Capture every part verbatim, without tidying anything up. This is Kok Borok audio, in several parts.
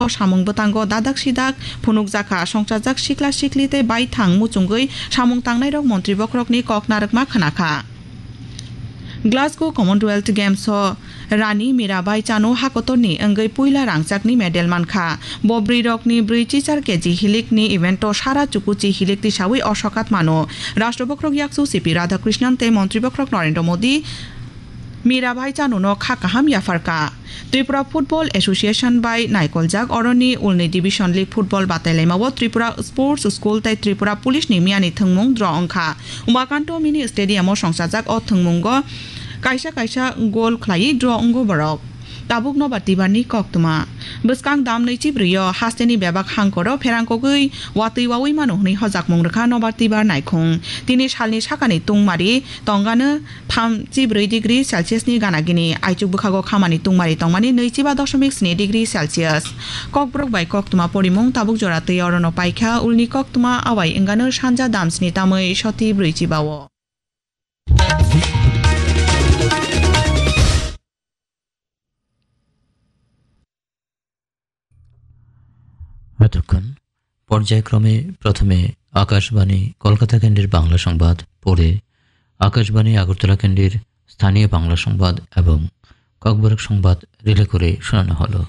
samung bwtango dadak sidak phunukjakha, songchajak sikla sikli tei baithang muchungwi samung tangnairok montri bokhorokni kok narwkma khwnakha. Glasgow Commonwealth Games o Rani Mirabai Chanu hakotorni wngwi puila rangchakni medal mankha. Bo bwrwirokni brwi chichar K G hilikni evento sara chukuchi hilik tisawi o sokat mano. Rashtra bokhorok yaksu C P Radhakrishnan tei montri bokhorok Narendra Modi Mirabai Chanuno kha kaham yapharkha. Tripura Football Association bai naikoljak oroni ulni Division League football batailaimao Tripura Sports School tei Tripura Police ni miyani thwngmung draw wngkha. Umakanto Mini Stadium o songchajak o thwngmungo kaisa kaisa goal khlaiwi draw wngo borok. Tabuk nobar tibarni koktwma. Bwskang dam nwichi brwi o hasteni bebak hangkoro pherangkogwi watwi wawi mano hwnwi hojakmung rwkha nobar tibar naikhung. Tini salni sakani tungmari tongano thamchi brwi degree Celsius ni gana gini, aichuk bwkhago khamani tungmari tongmani nwichiba dosomik sni degree Celsius. Kokborok bai koktwma porimung tabuk jora twi orono paikha, ulni koktwma awai wngano sanja dam sni tamwi soti brwichiba o. এতক্ষণ পর্যায়ক্রমে প্রথমে আকাশবাণী কলকাতা কেন্দ্রের বাংলা সংবাদ, পরে আকাশবাণী আগরতলা কেন্দ্রের স্থানীয় বাংলা সংবাদ এবং ককবরক সংবাদ রিলে করে শোনানো হলো।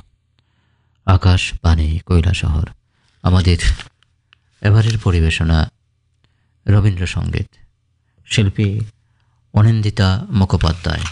আকাশবাণী কৈলাসহর। আমাদের এবারের পরিবেশনা রবীন্দ্রসঙ্গীত। শিল্পী অনিন্দিতা মুখোপাধ্যায়।